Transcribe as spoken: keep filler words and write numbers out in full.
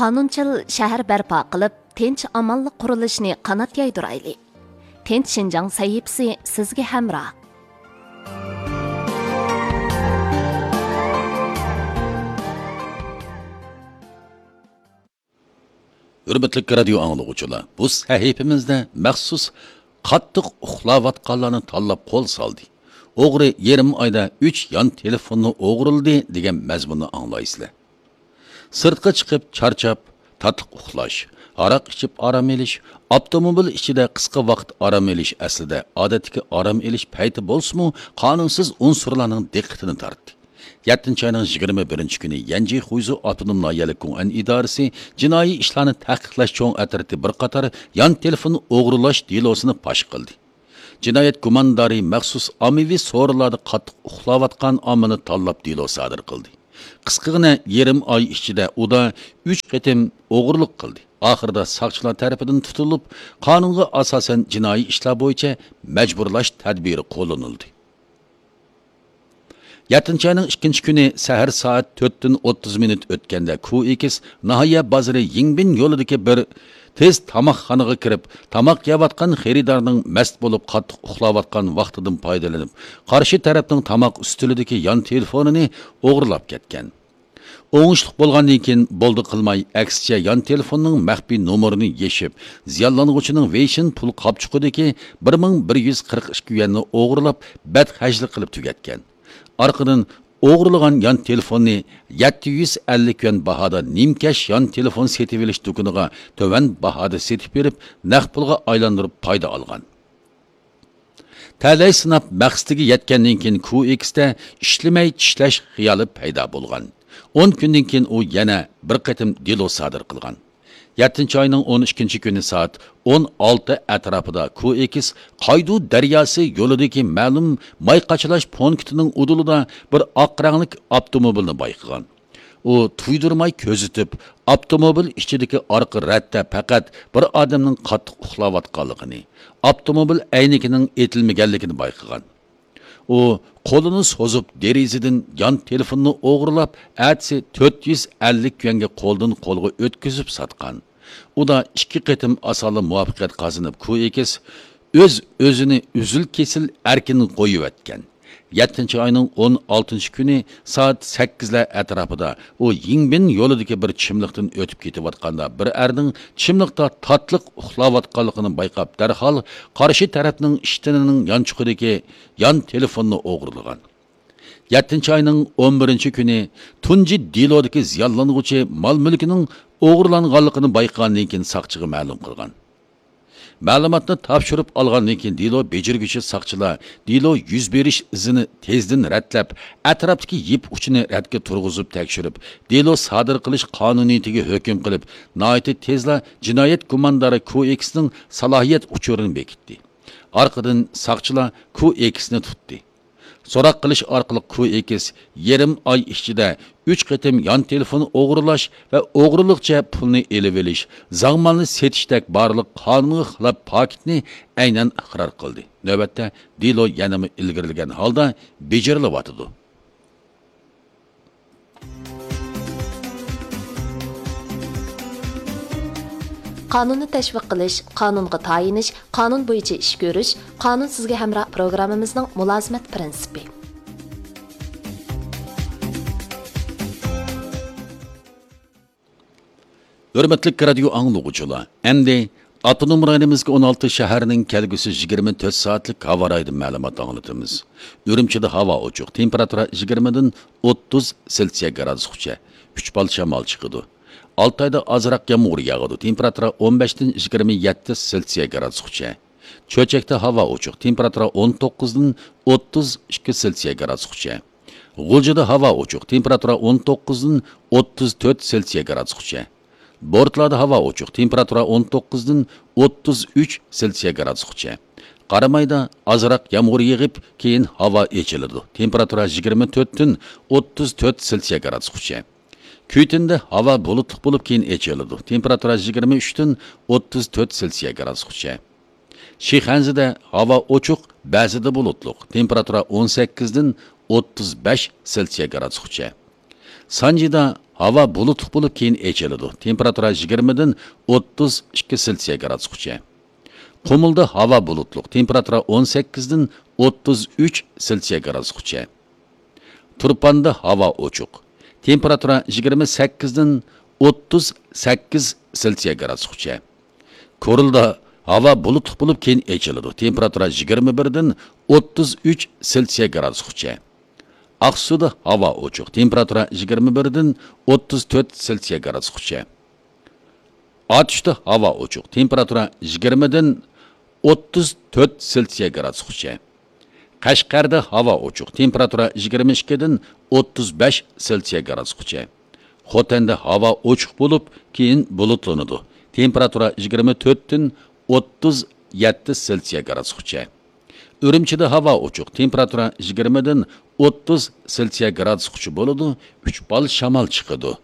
قانۇنچىل شەھەر بەرپا قىلىپ، تىنچ-ئامانلىق قۇرۇلۇشىنى قانات يايدۇرايلى. تىنچ شىنجاڭ سەھىپىسى سىزگە ھەمراھ. ھۆرمەتلىك رادىيو ئاڭلىغۇچىلار، بۇ سەھىپىمىزدە مەخسۇس قاتتىق ئۇخلاۋاتقانلارنى تاللاپ قول سالدى. ئوغرى يېرىم ئايدا ئۈچ يان تېلېفوننى ئوغرىلىدى دېگەن مەزمۇننى ئاڭلايسىلەر. سىرتقا چىقىپ چارچاپ، تاتلىق ئۇخلاش، ھاراق ئىچىپ ئارام ئېلىش، ئاپتوموبىل ئىچىدە قىسقا ۋاقىت ئارام ئېلىش ئەسلىدە ئادەتتىكى ئارام ئېلىش پەيتى بولسىمۇ، قانۇنسىز ئۇنسۇرلارنىڭ دىققىتىنى تارتتى. يەتتىنچى ئاينىڭ يىگىرمە بىرىنچى كۈنى يەنجى خۇيزۇ ئاپتونوم ناھىيەلىك گۇڭئەن ئىدارىسى جىنايى ئىشلارنى تەھقىقلەش چوڭ ئەترىتى بىر قاتار يان تېلېفون ئوغرىلاش دېلوسىنى پاش قىلدى. جىنايەت گۇماندارى مەخسۇس ئاممىۋى سورۇنلاردا قاتتىق ئۇخلاۋاتقان ئاممىنى تاللاپ دېلو سادىر قىلدى. قىسقىغىنە يېرىم ئاي ئىچىدە ئۇدا ئۈچ قېتىم ئوغرىلىق قىلدى. ئاخىرىدا ساقچىلار تەرىپىدىن تۇتۇلۇپ، قانۇنغا ئاساسەن جىنايى ئىشلار بويىچە مەجبۇرلاش تەدبىرى قوللىنىلدى. يەتتىنچى ئاينىڭ ئىككىنچى كۈنى سەھەر سائەت تۆتتىن ئوتتۇز مىنۇت ئۆتكەندە، كۇئېكس ناھىيە بازىرى يىڭبىن يولىدىكى بىر تېز تاماقخانىغا كىرىپ، تاماق يەۋاتقان خېرىدارنىڭ مەست بولۇپ قاتتىق ئۇخلاۋاتقان ۋاقتىدىن پايدىلىنىپ، قارشى تەرەپنىڭ تاماق ئۈستىلىدىكى يان تېلېفونىنى ئوغرىلاپ كەتكەن. ئوڭۇشلۇق بولغاندىن كېيىن بولدى قىلماي، ئەكسىچە يان تېلېفوننىڭ مەخپىي نومۇرىنى يېشىپ، زىيانلانغۇچىنىڭ ۋېيشىن پۇل قاپچۇقىدىكى بىر مىڭ بىر يۈز قىرىق ئىككى يۈەننى ئوغرىلاپ، بەتخەجلىك قىلىپ تۈگەتكەن. ئارقىدىن ئوغرىلىغان يان تېلېفوننى يەتتە يۈز ئەللىك يۈەن باھادا نىمكەش يان تېلېفون سېتىۋېلىش دۇكىنىغا تۆۋەن باھادا سېتىپ بېرىپ، نەق پۇلغا ئايلاندۇرۇپ پايدا ئالغان. تەلەي سىناپ مەقسىتىگە يەتكەندىن كېيىن، كۇئېكستا ئىشلىمەي چىشلەش خىيالى پەيدا بولغان. ئون كۈندىن كېيىن ئۇ يەنە بىر قېتىم دېلو سادىر قىلغان. يەتتىنچى ئاينىڭ ئون ئىككىنچى كۈنى سائەت ئون ئالتە ئەتراپىدا كۇئېكس قايدۇ دەرياسى يولىدىكى مەلۇم ماي قاچىلاش پونكىتىنىڭ ئۇدۇلىدا بىر ئاق رەڭلىك ئاپتوموبىلنى بايقىغان. ئۇ تۇيدۇرماي كۆزىتىپ، ئاپتوموبىل ئىچىدىكى ئارقا رەتتە پەقەت بىر ئادەمنىڭ قاتتىق ئۇخلاۋاتقانلىقىنى، ئاپتوموبىل ئەينىكىنىڭ ئېتىلمىگەنلىكىنى بايقىغان. ئۇ قولىنى سوزۇپ، دېرىزىدىن يان تېلېفوننى ئوغرىلاپ، ئەتىسى تۆت يۈز ئەللىك يۈەنگە قولدىن قولغا ئۆتكۈزۈپ ساتقان. ئۇدا ئىككى قېتىم ئاسانلا مۇۋەپپەقىيەت قازىنىپ، كۇئېكس ئۆز-ئۆزىنى ئۈزۈل-كېسىل ئەركىن قويۇۋەتكەن. يەتتىنچى ئاينىڭ ئون ئالتىنچى كۈنى سائەت سەككىزلەر ئەتراپىدا ئۇ يىڭبىن يولىدىكى بىر چىملىقتىن ئۆتۈپ كېتىۋاتقاندا، بىر ئەرنىڭ چىملىقتا تاتلىق ئۇخلاۋاتقانلىقىنى بايقاپ، دەرھال قارشى تەرەپنىڭ ئىشتىنىنىڭ يانچۇقىدىكى يان تېلېفوننى ئوغرىلىغان. يەتتىنچى ئاينىڭ ئون بىرىنچى كۈنى تۇنجى دېلودىكى زىيانلانغۇچى مال-مۈلكىنىڭ ئوغرىلانغانلىقىنى بايقىغاندىن كېيىن ساقچىغا مەلۇم قىلغان. مەلۇماتنى تاپشۇرۇپ ئالغاندىن كېيىن، دېلو بېجىرگۈچى ساقچىلار دېلو يۈز بېرىش ئىزىنى تېزدىن رەتلەپ، ئەتراپتىكى يىپ ئۇچىنى رەتكە تۇرغۇزۇپ تەكشۈرۈپ، دېلو سادىر قىلىش قانۇنىيىتىگە ھۆكۈم قىلىپ، ناھايىتى تېزلا جىنايەت گۇماندارى كۇئېكسنىڭ سالاھىيەت ئۇچۇرىنى بېكىتتى. ئارقىدىن ساقچىلار كۇئېكسنى تۇتتى. سوراق قىلىش ئارقىلىق كۇئېكس يېرىم ئاي ئىچىدە ئۈچ قېتىم يان تېلېفون ئوغرىلاش ۋە ئوغرىلىقچە پۇلنى ئېلىۋېلىش، زاڭمالنى سېتىشتەك بارلىق قانۇنغا خىلاپ پاكىتنى ئەينەن ئىقرار قىلدى. نۆۋەتتە دېلو يەنىمۇ ئىلگىرىلىگەن ھالدا بېجىرىلىۋاتىدۇ. قانۇننى تەشۋىق قىلىش، قانۇنغا تايىنىش، قانۇن بويىچە ئىش كۆرۈش، قانۇن سىزگە ھەمراھ پروگراممىمىزنىڭ مۇلازىمەت پىرىنسىپى. ھۆرمەتلىك رادىيو ئاڭلىغۇچىلار، ئەمدى ئاپتونوم رايونىمىزدىكى ئون ئالتە شەھەرنىڭ كەلگۈسى يىگىرمە تۆت سائەتلىك ھاۋا رايىدىن مەلۇمات ئاڭلىتىمىز. ئۈرۈمچىدە ھاۋا ئوچۇق، تېمپېراتۇرا يىگىرمىدىن ئوتتۇز سېلسىيە گرادۇسقىچە، ئۈچ بال شامال چىقىدۇ. ئالتايدا ئازراق يامغۇر ياغىدۇ، تېمپېراتۇرا ئون بەشتىن يىگىرمە يەتتە سېلسىيە گرادۇسقىچە. چۆچەكتە ھاۋا ئوچۇق، تېمپېراتۇرا ئون توققۇزدىن ئوتتۇز ئىككى سېلسىيە گرادۇسقىچە. غۇلجىدا ھاۋا ئوچۇق، تېمپېراتۇرا ئون توققۇزدىن ئوتتۇز تۆت سېلسىيە گرادۇسقىچە. بورتالادا ھاۋا ئوچۇق، تېمپېراتۇرا ئون توققۇزدىن ئوتتۇز ئۈچ سېلسىيە گرادۇسقىچە. قارامايدا ئازراق يامغۇر يېغىپ، كېيىن ھاۋا ئېچىلىدۇ، تېمپېراتۇرا يىگىرمە تۆتتىن ئوتتۇز تۆت سېلسىيە گرادۇسقىچە. كۈيتۈندە ھاۋا بۇلۇتلۇق بولۇپ، كېيىن ئېچىلىدۇ، تېمپېراتۇرا يىگىرمە ئۈچتىن ئوتتۇز تۆت سېلسىيە گرادۇسقىچە. شىخەنزىدە ھاۋا ئوچۇق، بەزىدە بۇلۇتلۇق، تېمپېراتۇرا ئون سەككىزدىن ئوتتۇز بەش سېلسىيە گرادۇسقىچە. سانجىدا ھاۋا بۇلۇتلۇق بولۇپ، كېيىن ئېچىلىدۇ. تېمپېراتۇرا يىگىرمىدىن ئوتتۇز ئىككى سېلسىيە گرادۇسقىچە. قۇمۇلدا ھاۋا بۇلۇتلۇق، تېمپېراتۇرا ئون سەككىزدىن ئوتتۇز ئۈچ سېلسىيە گرادۇسقىچە. تۇرپاندا ھاۋا ئوچۇق، تېمپېراتۇرا يىگىرمە سەككىزدىن ئوتتۇز سەككىز سېلسىيە گرادۇسقىچە. كورلىدا ھاۋا بۇلۇتلۇق بولۇپ، كېيىن ئېچىلىدۇ، تېمپېراتۇرا يىگىرمە بىردىن ئوتتۇز ئۈچ سېلسىيە گرادۇسقىچە. ئاقسۇدا ھاۋا ئوچۇق، تېمپېراتۇرا يىگىرمە بىردىن ئوتتۇز تۆت سېلسىيە گرادۇسقىچە. ئاتۇشتا ھاۋا ئوچۇق، تېمپېراتۇرا يىگىرمىدىن ئوتتۇز تۆت سېلسىيە گرادۇسقىچە. قەشقەردە ھاۋا ئوچۇق، تېمپېراتۇرا يىگىرمە ئىككىدىن ئوتتۇز بەش سېلسىيە گرادۇسقىچە. خوتەندە ھاۋا ئوچۇق بولۇپ، كېيىن بۇلۇتلىنىدۇ، تېمپېراتۇرا يىگىرمە تۆتتىن ئوتتۇز يەتتە سېلسىيە گرادۇسقىچە. ئۈرۈمچىدە ھاۋا ئوچۇق، تېمپېراتۇرا يىگىرمىدىن ئوتتۇز سېلسىيە گرادۇسقىچە بولىدۇ، ئۈچ بال شامال چىقىدۇ.